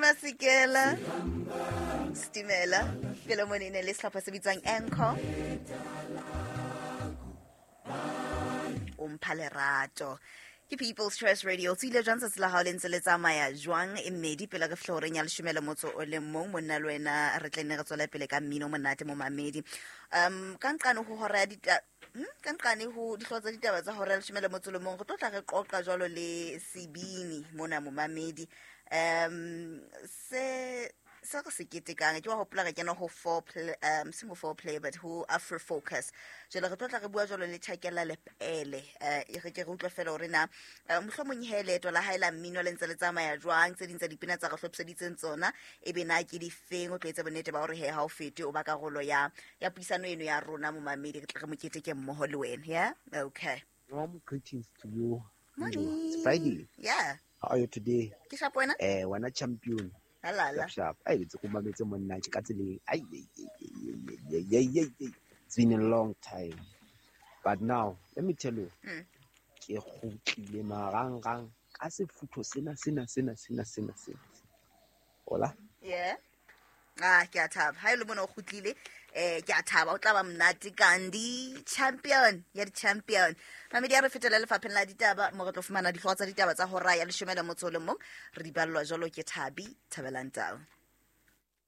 Masekela Stimela pele mone e ne le sehlopha se bitswang Anchor o mpha lerato ke People's Choice Radio. Tsile jwang tsatsi la hao le ntse le tsamaya jwang? E mmedi pele re fihla horeng ya leshome le motso o le mong, monna le wena re tle nne re tswele pele ka mmino monate mo mamedi. Ka nqane ho hora ya dita ka nqane ho dihlooho tsa ditaba tsa hora ya leshome le motso le mong, re tlo tla re qoqa jwalo le sebini mona momamedi. Se re se ketekang ke wa hopola re kena ho four play, seng ho four play but ho Afro Focus. Jwale re tlo tla re bua jwalo le Chakela Lepele, re ke re utlwe fela hore na mohlomong he leeto la hae la mmino le ntse le tsamaya jwang, tse ding tsa dipina tsa re hlophiseditseng tsona e be na ke difeng. O tlo etsa bonnete ba hore he ha o fete o ba karolo ya puisano eno ya rona momamedi, re tle re mo keteke mmoho le wena. Yeah, okay. Warm greetings to you. Morning. It's Friday. Yeah. How are you today? Ke sharp wena? Wena champion. Halala. Sharp, sharp. Ai, ntse ke mametse monna ke ka tseleng. Ai, ai, ai, ai, ai, ai, ai, ai. It's been a long time. But now, let me tell you. Ke kgutlile marangrang ka sefutho sena, sena, sena, sena, sena, sena. Hola? Yeah. Ah, ke a thaba. Ha e le mona o kgutlile, ke a thaba. O tla ba monate Gandhi champion ya di-champion. Mamedi, a re fetele lefapheng la ditaba mo re tlo fumana dihlooho tsa ditaba tsa hora ya leshome le motso o le mong. Re di ballwa jwalo ke Thabi Thabelang Tau.